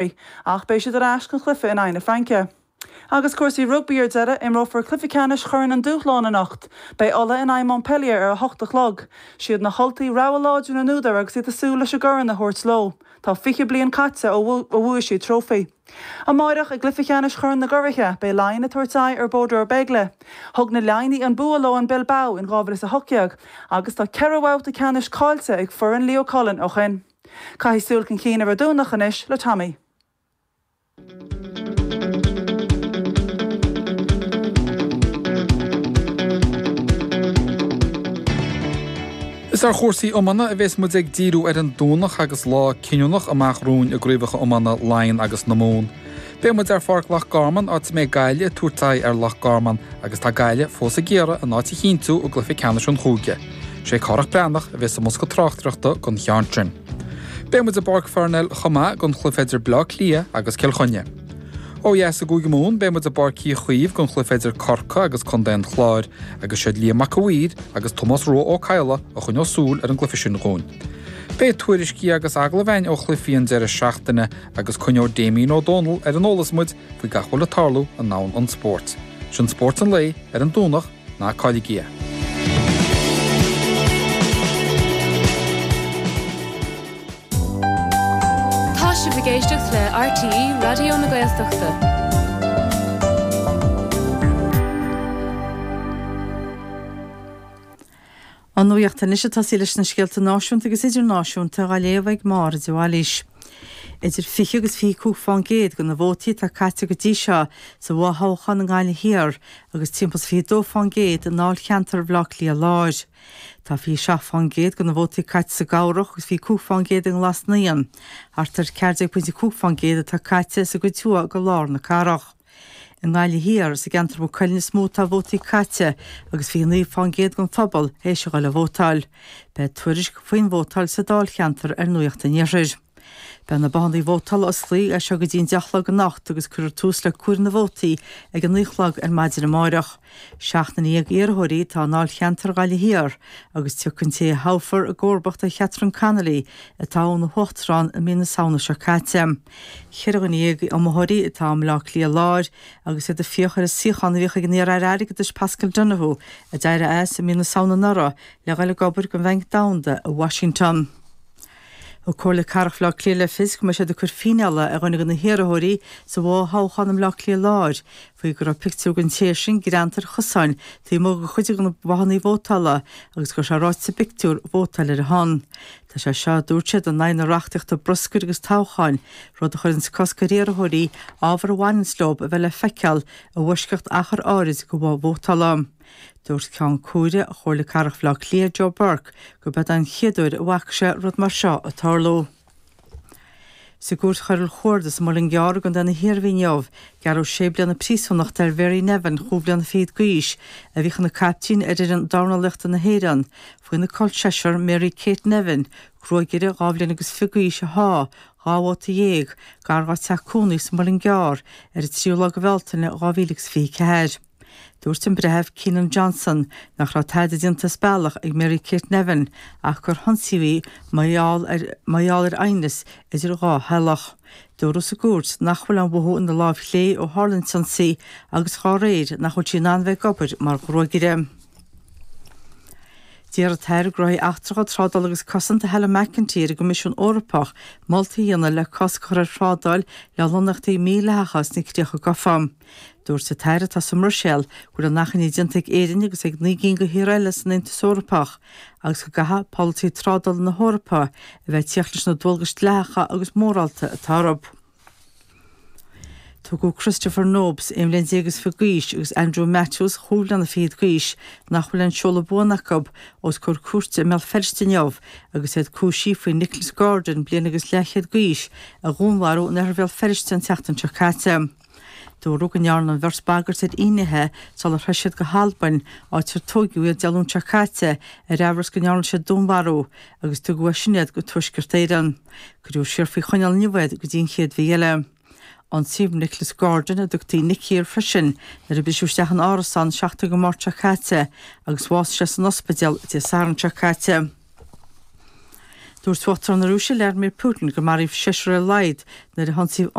Ach beidh siad ar ais don chluiche in aghaidh na Fraince. Agus cúrsaí rugbaí ar deireadh, imreofar cluiche ceannais Chorn an Dúshláin anocht. Beidh Ulaidh in aghaidh Montpellier ar a hocht a chlog. Siad na hUltaigh rogha láidir na n-údar agus iad ag súil leis an gcorn a thabhairt leo. Tá 20 bliain caite ó bhuaigh siad trófaí. Amáireach, i gcluiche ceannais Chorn na gCuraithe, beidh Laighin ag tabhairt aghaidh ar Bordeaux Bègles. Thug na Laighnigh an bua leo in Bilbao in 2018 agus tá ceithre bhabhta ceannais caillte ag foireann Leo Cullen ó shin. Caithfidh súil chun cinn ar an Domhnach anois le Tommy. Is ar chúrsaí iomána a bhéas muid ag díriú ar an Domhnach agus lá cinniúnach amach romhainn i gcraobhacha iomána Laighean agus na Mumhan. Beidh muid ar Pháirc Loch Garman áit a mbeidh Gaillimh ag tabhairt aghaidh ar Loch Garman agus tá Gaillimh fós ag iarraidh a n-áit a chinntiú i gcluiche ceannais an chúige. Sé Cárthach Breathnach a bheas i mbosca tráchtaireachta don cheann sin. Beidh muid i bPáirc Pharnell chomh maith don chluiche idir Bleá Cliath agus Cill Chainnigh. Ó dheas i gCúige Mumhan beidh muid i bPáirc Uí Chaoimh don chluiche idir Corcaigh agus Contae an Chláir agus siad Liam Mac a' Mhaoir agus Tomás Rua Ó Cadhla a choinneoidh súil ar an gcluiche sin dhúinn. Beidh tuairiscí agus agallaimh againn ó chluichí an deireadh seachtaine agus coinneoidh Damien Ó Dónaill ar an eolas muid faoi gach a bhfuil ag tarlú i ndomhan an spóirt. Sin Spórt an Lae ar an Domhnach, ná cailligí é. Tá sibh ag éisteacht le RTÉ Raidió na Gaeltachta. An Nuacht anois ag tosaí leis na scéalta náisiúnta agus idirnáisiúnta á léamh ag Máire de Bhailís. Idir 20 agus 25 fán gcéad de na vótaí atá caite go dtí seo sa bhfothoghchán i nGaillimh Thiar agus timpeall is 22 fán gcéad i ndáilcheantar Bhaile Átha Cliath Láir. Tá 27 fán gcéad de na vótaí caite sa gCabhrach agus 25 fán gcéad i nGlas Naíon. Thart ar 14.5 fán gcéad atá caite sa gcuid thuaidh de lár na cathrach. I nGaillimh Thiar, is i gceantar Mhaigh Cuilinn is mó atá vótaí caite agus 29 fán gcéad den phobal théis a dhul a vótáil. Beidh tuairisc faoin vótáil sa dáilcheantar ar Nuacht an Iarthair. Beidh na bothannaí vótála osclaithe as seo go dtí an 10 a chlog anocht agus cuirfear tús le comhaireamh na vótaí ag a 9 a chlog ar maidin amáireach. Seachtar iarrthóirí atá i ndáilcheantar Ghaillimh Thiar agus tiocfaidh an té a thoghfar i gcomharbacht ar Chatherine Connolly a toghadh ina huachtarán i mí na Samhna seo caite. 14 iomaitheoirí atá i mBaile Átha Cliath Láir agus iad ag fiach ar an suíochán a bhíodh ag an iar-aire airgeadais Paschal Donohoe a d'éirigh as i mí na Samhna anuraidh le dhul ag obair don Bhanc Domhanda i Washington. Thug Comhairle Cathrach Bhaile Átha Cliath le fios go mbeidh siad ag cur fíneála ar dhuine de na hiarrthóirí sa bhfothoghchán i mBaile Átha Cliath Láir faoi go raibh pictiúr den té sin greanta ar chosáin taobh amuigh de chuid de na bothannaí vótála agus go raibh sé ráite sa bpictiúr vótáil ar a shon. Tá sé seo, a dúirt siad, in aghaidh na reachtaíochta bruscair agus toghcháin, rud a chuireanns cosc ar iarrthóirí ábhar a bhaineanns leo a bheith le feiceáil i bhfoisceacht achar áirid de bhoth vótála. Dúirt Ceann Comhairle Chomhairle Cathrach Bhaile Átha Cliath, Joe Burke, gurb é an chéad uair a bhfaca sé rud mar seo ag tarlú. Sa gCúirt Choiriúil Chuarda sa Muileann gCearr i gContae na hIarmhí inniu, gearradh sé bliana príosúnachta ar Mhary Nevin, chúig bhliana fichead d'aois, a bhíodh ina caiptín ar fhoireann dornálaíochta na hÉireann, faoina col seisear Mary Kate Nevin, gruagaire dhá bhliain agus fiche d'aois a sháigh dhá bhata dhéag gar dá teach cónaí sa Muileann gCearr ar an tríú lá de Bhealtaine 2024. Dúirt an Breitheamh Keenan Johnson nach raibh tada déanta as bealach ag Mary Kate Nevin ach gur hionsaíodh í mar gheall ar mar gheall ar aighneas idir dhá theaghlach. Dúradh sa gcúirt nach bhfuil aon mhothú ina láimh chlé ó tharla an t-ionsaí agus dhá réir nach bhfuil sí in ann bheith ag obair mar ghruagaire. D'iarr an tAire Gnóthaí Eachtracha, Trádála agus Cosanta Helen McEntee ar an gCoimisiún Eorpach moltaí a dhéanamh le cosc a chur ar thrádáil le lonnaíochtaí mídhleathacha sna Críocha Gafa. Dúirt an tAire atá sa mBruiséil go bhfuil an achainí déanta ag Éirinn agus ag 9 gcinn de thíortha eile san Aontas Eorpach agus go gcaithfidh polasaí trádála na hEorpa a bheith ag tíocht leis na dualgais dleathacha agus mórálta atá orthu. Tugadh Christopher Nobes, 11 bhliain is fiche d'aois, agus Andrew Matthews, chúig bhliana fichead d'aois, nach bhfuil aon seoladh buan acu, os comhair cúirte i mBéal Feirste inniu agus iad cúisithe faoi Nicholas Gordon, bliain agus leathchéad d'aois, a dhúnmharú in oirthear Bhéal Feirste an tseachtain seo caite. Dúradh go ndearna an bheirt bagairt ar fhinnéithe sular theith siad go hAlbain, áit ar tóigeadh iad Dé Luain seo caite ar amhras go ndearna siad dúnmharú, agus tugadh as sin iad go Tuaisceart Éireann. Cuireadh siar faoi choinneáil inniu iad go dtí an chéad mhí eile. Ionsaíodh Nicholas Gordon, a dtugtaí Nicky air freisin, nuair a briseadh isteach ina árasán an 7ú de Mháirt seo caite agus bhásaigh sé san ospidéal Dé Sathairn seo caite. Dúirt Uachtarán na Rúise Vladimir Putin gur maraíodh seisear ar a laghad nuair a hionsaíodh.